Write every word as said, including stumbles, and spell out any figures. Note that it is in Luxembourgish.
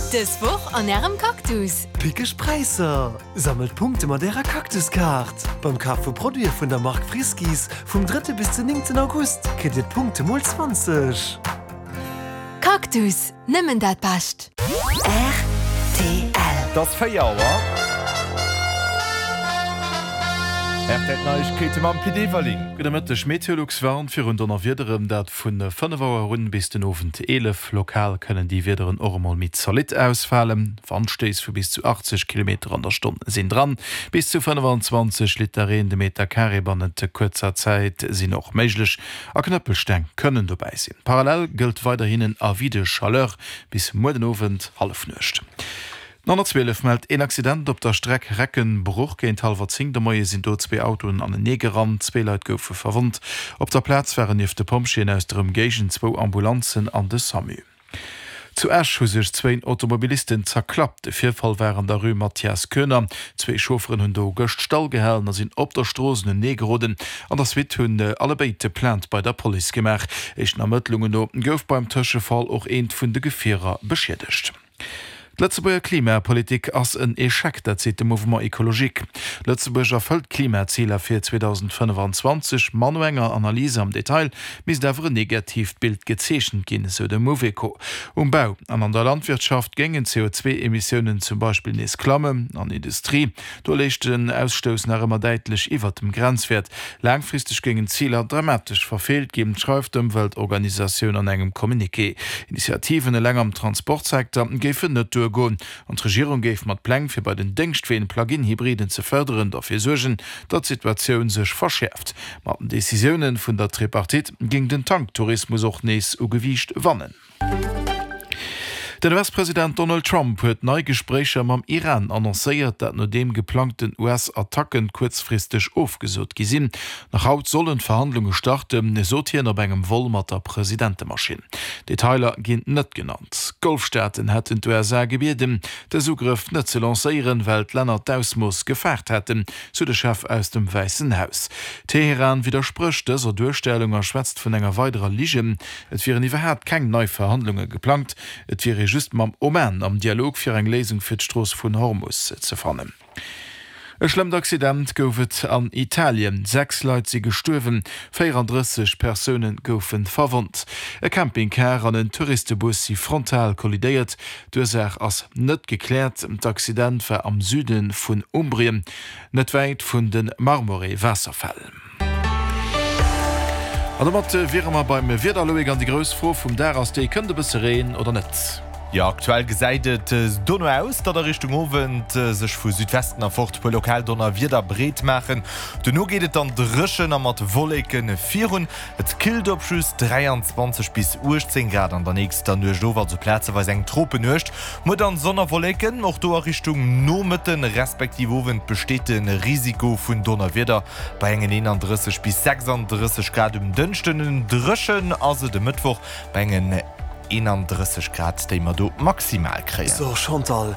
Dës Woch an Ärem Cactus. Pickeg Präisser! Sammelt Punkte mat Ärer Cactus-Kaart! Beim Kaf vu Produite vun der Mark Friskies vum drëtte bis den néngten August kritt Dir d'Punkte mol zwanzeg. Cactus, nëmmen dat Bescht! Rtl. Et ass véier Auer. Rtl Neiegkeete mam Pit Everling. Gudde Mëtteg. Meteolux warnt virun Donnerwiederen, dat vu fënnef Auer un bis den Owend eelef. Lokal kënnen déi Wiederen och emol méi zolidd ausfalen. Wandstéiss vu bis zu achtzeg Kilometer an der Stonn sinn dran. Bis zu fënnefenzwanzeg Liter Reen de Meter Carré bannent kuerzer Zäit sinn och méiglech a Knëppelsteng kënnen dobäi sinn. Parallel gëllt weiderhin en Avis de chaleur bis muer den Owend Hallefnuecht. Den honnertzwielef mellt een Accident op der Streck Recken-Bruch. Géint hallwer zéng de Moie sinn do zwee Autoen anenee gerannt. Zwee Leit goufe verwonnt. Op der Plaz waren nieft de Pompjeeën aus der Ëmgéigend zwou Ambulanzen an de Samu. Zu Esch hu sech zwéin Automobilisten zerklappt. De Virfall war an der Rue Mathias Koener. Zwee Chaufferen hunn do gëscht stall gehalen a sinn op der Strooss unenee geroden. An der Suite hunn allebéid Plainte bei der Police gemaach. Éischten Ermëttlungen no gouf beim Tëschefall och eent vun de Gefierer beschiedegt. D'Lëtzebuerger Klimapolitik ass en Echec, dat seet de Mouvement Ecologique. Lëtzebuerg erfëllt d'Klimaziler fir zweedausendfënnefanzwanzeg, ma no enger Analyse am Detail misst awer en negatiivt Bild gezeechent ginn, esou de Mouveco. Um Bau an an der Landwirtschaft géingen d'C O zwee Emissiounen zum Beispill nees klammen. An Industrie, do léich den Ausstouss nach ëmmer däitlech iwwert dem Grenzwäert. Laangfristeg géingen d'Ziler dramatesch verfeelt ginn, schreift d'Ëmweltorganisatioun an engem Communiqué. Initiativen eleng am Transportsecteur géifen net duergoen an d'Regierung géif mat Pläng fir bei den Déngschtween Plug-in-Hybriden ze fërderen derfir suergen, datt d'Situatioun sech verschäerft. Mat den Decisioune vun der Tripartite géing den Tanktourismus och nees u Gewiicht wannen. Den U S-President Donald Trump huet nei Gespréicher mam Iran annoncéiert, dat nodeem geplangten U S-Attacken kuerzfristeg ofgesot gi sinn. Nach haut sollen d'Verhandlunge starten, sot hien op engem Vol mat der Presidentemaschinn. Detailer ginn net genannt. D'Golfstaaten hätten d'U S A gebieden, dës Ugrëff net ze lancéieren, well d'Länner d'Ausmooss gefaart hätten, sou de Chef aus dem Wäissen Haus. Teheran widdersprécht dëser Duerstellung a schwätzt vun enger weiderer Ligen. Et wieren iwwerhaapt keng nei Verhandlunge geplangt, et wier ee just mam Oman am Dialog fir eng Léisung fir d'Strooss vun Hormus ze fannen. E schlëmmt Accident gouf et an Italien. Sechs Leit si gestuerwen, véierandrësseg Persoune goufe verwonnt. E Campingcar an en Touristebus si frontal kollidéiert. D'Ursaach ass net gekläert. D'Accident war am Süde vun Umbrien, net wäit vun de Marmore-Waasserfäll. An domat wiere mer beim Wieder, Loïc, an déi grouss Fro vum Dag ass déi, Kënnt e bësse Reen oder net? Jo, aktuell gesäit et dono aus, datt a Richtung Owend sech vu Südwesten erfort puer lokal Donnerwieder breet maachen. Dono geet et dann dréchen a mat Wolleke virun. Et killt op just dräianzwanzeg bis uechtzéng Grad an der nächster Nuecht of, also plazeweis eng Tropenuecht. Muer dann Sonn a Wolleken, och do a Richtung Nomëtten respektiv Owend besteet de Risiko vun Donnerwieder bei engen eenandrësseg bis sechsandrësseg Grad um Dënschden. Dréchen ass et e Mëttwoch bei engen eenandrësseg Grad, déi mer do maximal kréien. So Chantal,